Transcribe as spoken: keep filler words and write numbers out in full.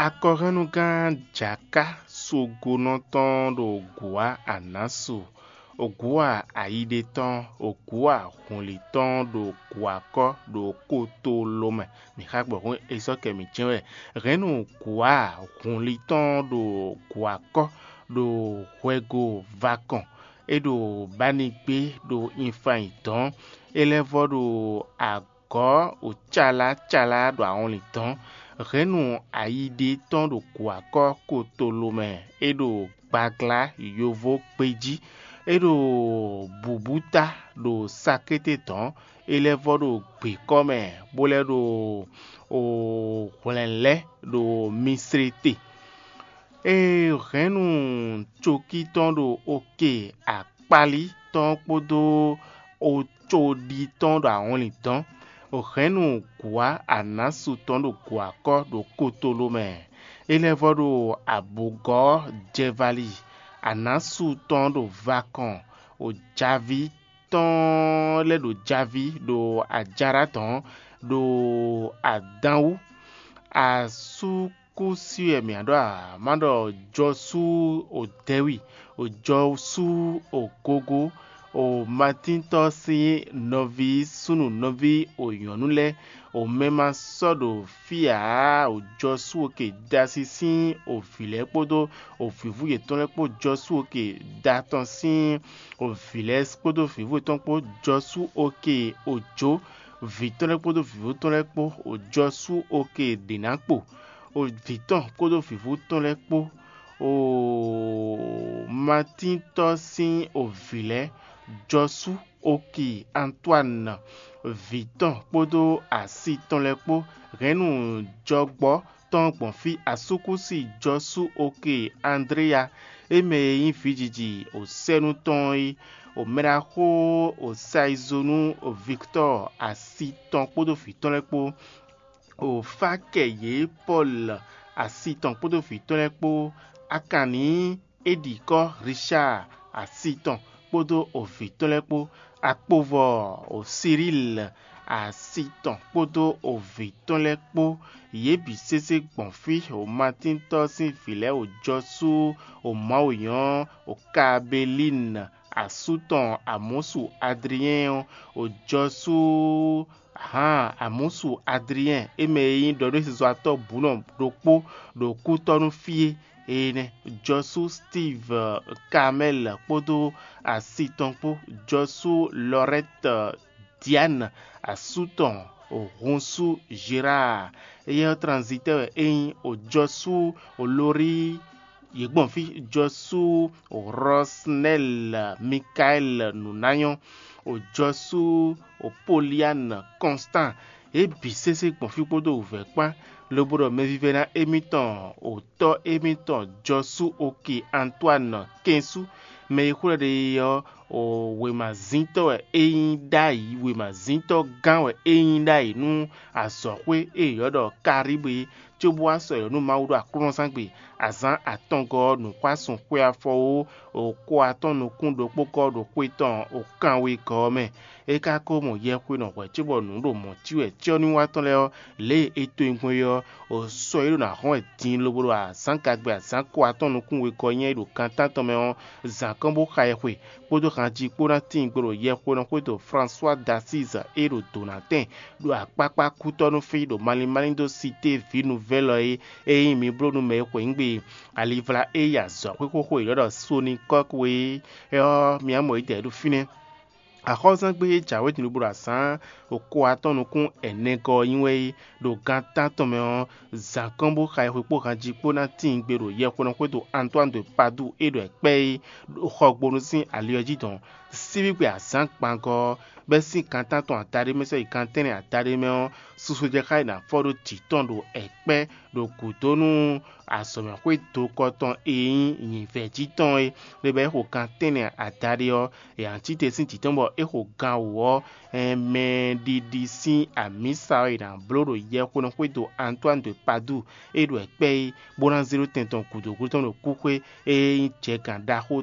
Akɔhɛnnugán Jaká Sogonɔ tɔn ɖo Gǔwá Anasu, Ogǔwá Ayiɖe tɔn, Ogǔwá Hunlí tɔn ɖo Gǔwakɔ́ ɖo Kotolomɛ. Mǐ xa gbɔ hǔn e sɔ́ kɛ mǐ jɛ́n wɛ. Hɛ̌nnu Gǔwá Hunlí tɔn ɖo Gǔwakɔ́ ɖo hwɛgo vakɔn, é ɖo Banigbé ɖo Infayin dɔ̌n, é lɛ́ vɔ́ ɖo agɔ̌ wǒcalá calá ɖo awɔnlin dɔ̌n. Hɛ̌nnu ayiɖe tɔn ɖo gǔwakɔ́ kotolo mɛ, é ɖo gbaglá yovo gbejí, é ɖo bǔbúta ɖo sakété dɔ̌n, é lɛ́ vɔ́ ɖo gběkɔ́ mɛ, bó lɛ́ ɖo hwlɛ̌nlɛ́ ɖo Mislete. È hɛ̌nnu cokí tɔn ɖo oke akpálí tɔn kpódó ocoɖi tɔn ɖo awɔnlin dɔ̌n. È hɛ̌nnu gǔwá anásu tɔn ɖo gǔwakɔ́ ɖo kotolo mɛ. É lɛ́ vɔ́ ɖo abǔgɔ́ jɛvali, anásu tɔn ɖo vakɔn, ojaví tɔn lɛ́ ɖo javí ɖo ajára dɔ̌n ɖo adán wú. Asú kú sí wɛ mǐ ɖɔ ǎ, má ɖɔ jɔsú odɛ́wi, jɔsú ogogo, o matíntɔ́ sín nɔví súnnu nɔví o nyɔ̌nu lɛ́ɛ, o mɛ ma sɔ́ ɖo fí ǎ, o jɔsú oke dasi sín o vǐ lɛ́ɛ kpódó o vǐvú yětɔn lɛ́ɛ kpó jɔsú oke da tɔn sín o vǐ lɛ́ɛ kpódó vǐvú yětɔn kpó jɔsú oke ojǒ vǐ tɔn lɛ́ɛ kpódó vǐvú tɔn lɛ́ɛ kpó, o jɔsú oke ɖě ná kpo, o vǐ tɔn kpódó vǐvú tɔn lɛ́ɛ kpó, o matíntɔ́ sín o vǐ lɛ́ɛ, jɔsú oki Antoine, vǐ tɔn kpódó asi tɔn lɛ́ɛ kpó, hɛ̌nnu jɔgbɔ́ tɔn gbɔn fí asúkúsi jɔsú oke Andréya, é mɛ e nyí vǐjiji o sɛ́nú tɔn é, o mɛɖaxó o Sayizonu o Viktɔ́ɔ asi tɔn kpódó vǐ tɔn lɛ́ɛ kpó, o Fakɛyě Pɔ́lu asi tɔn kpódó vǐ tɔn lɛ́ɛ kpó, Akanní Edikɔ́ Richáa asi tɔn kpódó o vǐ tɔn lɛ́ɛ kpó, akpovɔ o Siríli asi tɔn kpódó o vǐ tɔn lɛ́ɛ kpó, yě bǐ sésé gbɔn fí o Matíntɔ́ sín vǐ lɛ́ɛ o jɔsú o Mawu nyɔ́ o Kabelín asú tɔn Amɔ̌su Adliɛ́n ɔ́, o jɔsú hǎn Amɔ̌su Adliɛ́n, é mɛ e nyí ɖɔɖósizɔ́watɔ́ bǔnɔ ɖokpó ɖo kútɔ́ nú fí é. Énɛ́ jɔsú Steve Kamɛ́l kpódó asi tɔn kpó, jɔsú Lɔrɛ́t Diane asú tɔn, Hunsú Gérard, éyɛ́ ɔ́ tranzitɛ́ wɛ é nyí, o jɔsú o Lori, yě gbɔn fí jɔsú o Rɔsnɛ́l Mikaɛl nǔnányɔ́, o jɔsú o Polian Kɔnstan, yě bǐ sésé gbɔn fí kpódó wǔvɛ́ kpán, lobo ɖɔ mɛvívɛ́ná émítɔn o tɔ́ émítɔn jɔsú oke Antoine kɛnsú, mɛ e xwlɛ́ ɖe é ɔ́, o wěmazíntɔ́ wɛ é nyí ɖ'ayǐ, wěmazíntɔ́ gán wɛ é nyí ɖ'ayǐ nú azɔ̌xwé e è ylɔ́ ɖɔ Karíbu é, cóbó wá sɔ́ yɔ̌ nú Mawu ɖo aklúnɔzángbe, azǎn atɔngɔ́ ɔ́ nǔxwásun xwe afɔwó, o ko atɔ́n nukún ɖokpó gɔ́ ɖo xwe tɔn o kanwegɔ́ ɔ́ mɛ. É ka ko mɔ yɛhwenɔ hwɛ̌ cóbɔ nǔ ɖo mɔ̌ cí wɛ cyɔ́nywatɔ́ lɛ́ɛ ɔ́, lě e è to nyi gbɔn é ɔ́, o sɔ́ yě ɖo nǎ hɔn wɛ din lobo ɖo azǎn gagbe azǎn ko atɔ́n nukún wegɔ́ nyá é ɖo gan tántɔn mɛ ɔ́, zǎn kɔn bó xa yɛhwe, kpódó hanjí kpó ná tíin gbe ɖo yɛhwenɔ xwédo François d'Assise e ɖo dǒnatɛn ɖo akpákpá kútɔ́ nú fí ɖo malín málín dó Cité Vie Nouvelle ɔ́ é, ényí mi bló nú mɛ e xweyǐgbe alivla e yi azɔ̌xwé xóxó e è ylɔ́ ɖɔ Sonikɔ́k é ɔ́, mi ná mɔ yědɛɛ ɖo fínɛ́. Axɔ́zángbé e jǎwe din lobo ɖo azǎn ɖo ko atɔ́ɔ́n nukún ɛnɛgɔ́ ɔ́ nyi wɛ é, ɖo gan tántɔn mɛ ɔ́, zǎn kɔn bó xa yɛhwe kpó hanjí kpó ná tíin gbe ɖo yɛhwenɔ xwédo Antoine de Padoue e ɖɔ è kpɛ́ é, ɖo xɔgbónu sín ali ɔ́ jí dɔn. Síbígbe azǎn gbangɔ́ ɔ́, bɛ́ sín gan tántɔn adaɖé mɛ sɔ́ yi gan tɛ́nnɛ adaɖé mɛ ɔ́, susu jɛ xá e nǎ fɔ ɖó jǐ tɔn ɖo ɛ̌kpɛ́ ɖo gǔdo nú azɔ̌mɛxwé dokɔ tɔn e nyí nyǐvɛ́ jí tɔn é, lě bɔ é xo gan tɛ́nnɛ adaɖé ɔ́, è nǎ cí te sín jǐ tɔn bɔ é xo gan wǒ ɔ́, mɛɖiɖi sín amǐsa ɔ́ è nǎ bló ɖo yɛhwenɔ xwédo Antoine de Padoue e ɖo ɛ̌kpɛ́ é, bó ná zé ɖó tɛn tɔn gǔdo gúdo tɔn ɖo kúxwé e nyí jɛgǎn ɖaxó